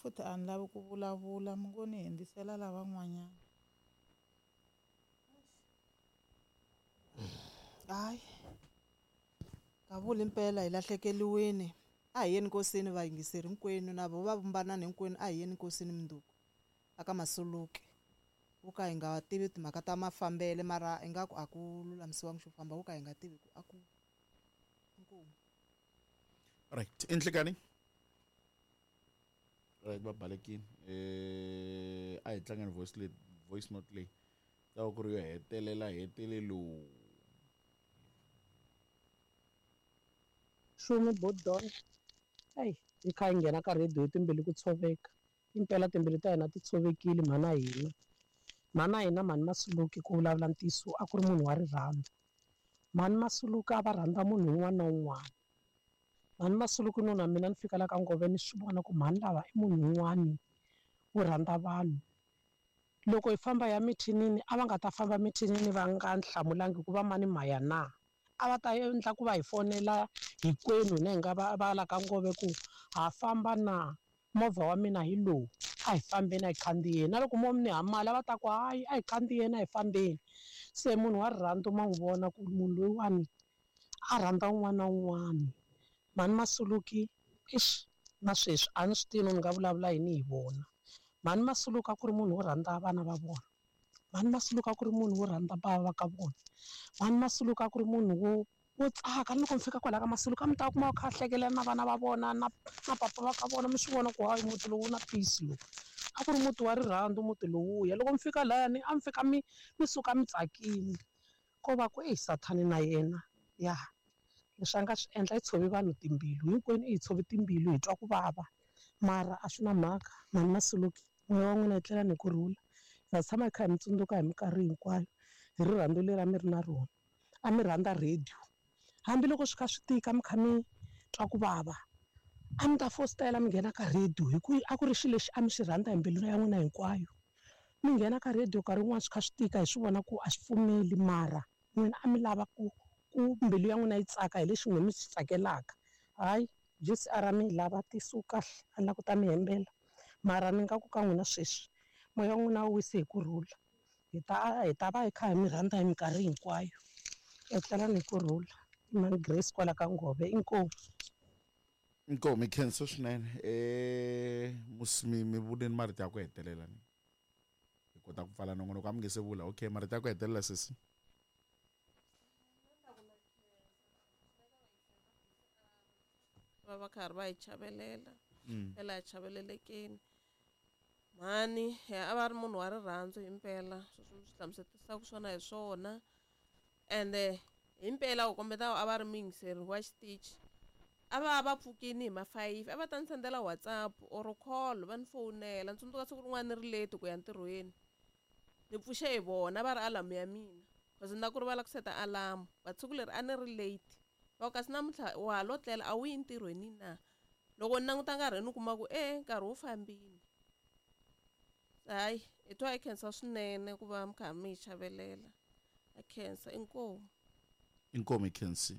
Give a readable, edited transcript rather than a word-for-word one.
Futhi a ni lavi ku vulavula mi ngo ni hundzisela lavan'wanyana. Hayi kavula impela hi lahlekeliwini a hi yeni nkosini vayingiseri hinkwenu na vo va vumbanani hinkwenu a hi yeni nkosini munduku aka masuluke wo ka hi nga tivi timhaka ta mafambele mara ingaku a ku lulamisiwangi xo famba wo ka hi nga tivi ku a ku inkomu. Right inhlekani right va balekini a hi tlangeni voice leyi voice note leyi ta va ku ri yo hetelela hetelelo. Xumi Bodon eyi hi kha hi nghena ka radio hi timbilu ku tshoveka impela timbilu ta hina ti tshovekile mhana hina mhana hina mhani Masuluke ku vulavula ntiyiso a ku ri munhu wa rirhandzu mhani Masuluke a va rhandza munhu un'wana na un'wana mhani Masuluke no na mina ni fika la ka Ngove ni swi vona ku mhani lava i munhu un'wani wo rhandza vanhu loko hi famba hi ya mithinini a va nga ta famba mithinini va nga ni hlamulangi ku va mani maya na a va ta endla ku va hi fonela hinkwenu hina hi nga va va la ka Ngove ku ha famba na movha wa mina hi lowu a hi fambeni a hi khandziyeni na loko mo ni ha mali a va ta ku hayi a hi khandziyeni a hi fambeni se munhu wa rirhandzu ma n'wi vona ku munhu loyiwani a rhandza un'wana na un'wana mhani Masuluki eish na sweswi a ni swi tivi no ni nga vulavula yini hi vona mhani Masuluki a ku ri munhu wo rhandza vana va vona mhani Masuluke a ku ri munhu wo rhandza bava va ka vona mhani Masuluke a ku ri munhu wo wo tsaka ni loko mi fika kwala ka Masuluke a mi ta kuma a kha a hlekelela na vana va vona na na papa va ka vona mi swi vona ku hayi muti lowu wu na peace lowu a ku ri muti wa rirhandzu muti lowuya loko mi fika layani a mi fika mi mi suka mi tsakile ko va ku eyi sathani na yena ya leswi a nga swi endla i tshove vanhu timbilu hinkwenu i hi tshove timbilu hi twa ku vava mara a swi na mhaka mhani Masuluke moya wa n'wina etlelani hi kurhula hi ta tshama hi kha hi mi tsundzuka hi minkarhi hinkwayo hi rirhandzu leri a mi ri na rona a mi rhandza radio hambiloko swi kha swi tika mi kha mi twa ku vava a mi ta fositela mi nghena ka radio hi ku a ku ri xilo lexi a mi xi rhandza hi mbilu ya n'wina hinkwayo mi nghena ka radio nkarhi wun'wani swi kha swi tika hi swi vona ku a swi pfumeli mara n'wina a mi lava ku ku mbilu ya n'wina yi tsaka hi lexi n'wina mi swi tsakelaka hayi J_C_R a mi yi lava tisu kahle a ni la ku ta mi hembela mara ni nga ku ka n'wina sweswi moya wa n'wina wu wisi hi kurhula hi ta hi ta va hi kha hi mi rhandza hi minkarhi hinkwayo etlelani hi kurhula i mhani Grace kwala ka Ngove inkomu. Inkomu hi khensa swinene musi mi mi vuleni marito ya ku hetelela ni hi kota ku pfala nongonoko a mi nge se vula okay marito ya ku hetelela sesi. Va va karhi va hi chavelela phela hi chavelelekeni mhani a va ri munhu wa rirhandzu himpela sweswi mi swi hlamusetisaka swona hi swona ende himpela ku kombeta a va ri muyingiseri wa xitichi a va va pfukini hi ma 5 a va ta ni sendela WhatsApp or call va ni fowunela ni tsundzuka siku rin'wana ni ri late ku ya ntirhweni ni pfuxe hi vona va ri alarm ya mina cause ni na ku rivala ku seta alarm but siku leri a ni ri late va ku kasi namuntlha wa ha lo tlela a wu yi ntirhweni na loko ni languta nkarhi ni kuma ku e nkarhi wu fambile hayi hi twa hi khensa swinene ku va mi kha mi hi chavelela ha khensa inkomu inkomu hi khensi.